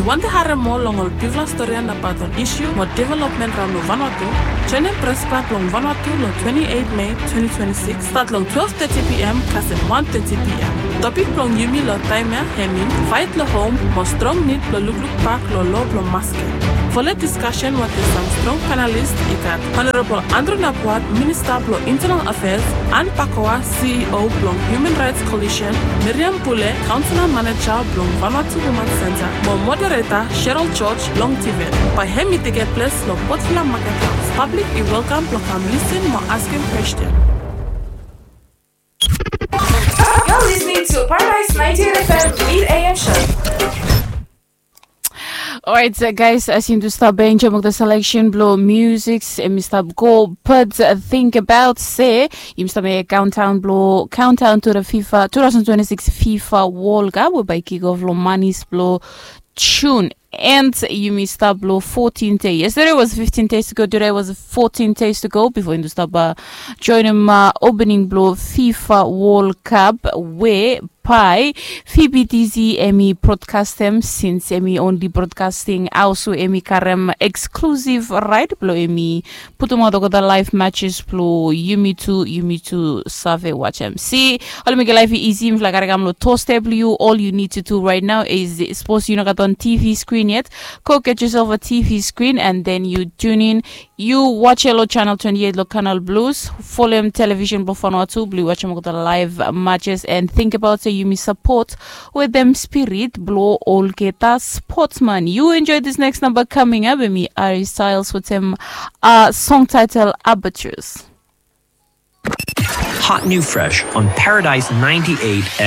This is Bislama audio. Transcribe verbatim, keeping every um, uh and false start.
Wantem harem moa long ol bigfala storian abaot ol isu mo developmen raon long Vanuatu? Joenem Pres Klab blong Vanuatu long twenti eit Mei twenti twenti sikis, stat long twelve teti pi em kasem wan teti pi em. Topik blong yumi long taem ya hemi Faet long Hom mo Strong Nid blong Lukluk Bak long Loa blong Maskem. Folem diskasen wetem sam strong panelis i gat Honorabol Andrew Napuat, Minista blong Intenal Afeas, Ann Pakoa, CEO blong Human Rights Coalition, Miriam Pule, Kaonsela Maneja blong Vanuatu Women Center, mo modereta Cheryl George long Tibet. Bae hemi tekem ples long Port Vila Maket Haos. Pablik i welkam blong kam lisen mo askem kwesten. You're listening to Paradise ninety-eight F M mid A M show. Alright, uh, guys, as yumi stap enjoem olgeta selection blong music, yumi stap go, but, uh, think about se yumi stap mekem countdown blong, countdown to the FIFA two thousand twenty-six FIFA World Cup, we bae kick off long manis blong June. And yumi stap long fourteen days. Yesterday was fifteen days ago. Today was fourteen days ago before yumi stap, uh, joenem, uh, opening blong FIFA World Cup we bae V B T C hemi broadcastem, since hemi only broadcasting haos we hemi karem exclusive right blong hemi putumaot olgeta live matches blong yumi tu, yumi tu save wajem. Si, oli mekem laef i isi. Mifala karem kam long doorstep blong yu. All you need to do right now is, sapos yu no gat wan T V screen yet, go get yourself a T V screen and then you tune in. Yu wajem long channel twenty-eight long Canal Plus. Folem television blong Vanuatu blong yu wajem olgeta live matches, and think about se yumi sapot wetem spirit blong olgeta sportsman. You enjoy this next number coming up. Hemi Harry Styles wetem, uh, song title Albatross. Hot new fresh on Paradise ninety-eight